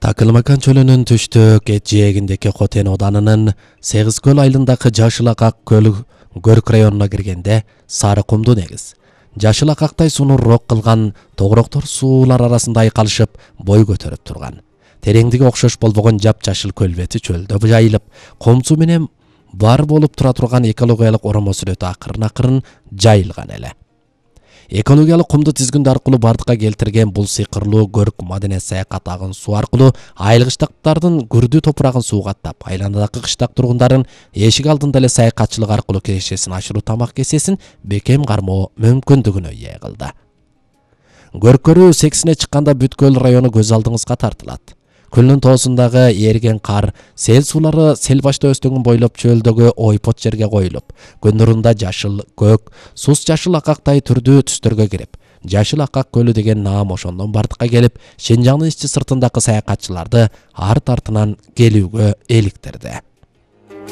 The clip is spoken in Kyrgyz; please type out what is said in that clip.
Такылмакан чөлүнүн түштүк эт жээгиндеки Хотен оданынын Сегиз көл айылындагы Жашыл Акак көлү Көрк районуна киргенде сары кумду негиз жашыл акактай сунуурок кылган тогуроктор суулар арасында айкалышып бой көтөрүп турган. Тереңдиги окшош болбогон жапжашыл көл бети чөлдө жайылып, комсу менен бар болуп тура турган экологиялык оромо сүрөтү акырын жайылган эле. Экологиялык кумду тизгүндү аркылуу бардыкка келтирген бул сыйкырлуу Көрк маданият саякат агын суу аркылуу айыл кыштактардын күрдүү топурагын суугаттап, айланадагы кыштак тургундарын эшик алдында эле саякатчылык аркылуу кирешесин ашыруу, тамак кесесин бекем кармоо мүмкүндүгүнө ээ кылды. Көрк көрүү сексине чыкканда бүткүл району көз алдыңызга тартылат. Көлдүн тоосундагы эрген кар, сел суулары сел башта өстөгүн бойлоп чөлдөгү ойпот жерге коюлуп, күн нурунда жашыл, көк, сус жашыл акактай түрдүү түстөргө кирип, Жашыл Акак көлү деген наам ошондон бардыкка келип, Шенжаңдын ичи сыртындагы саякатчыларды арт артынан келүүгө эликтирди.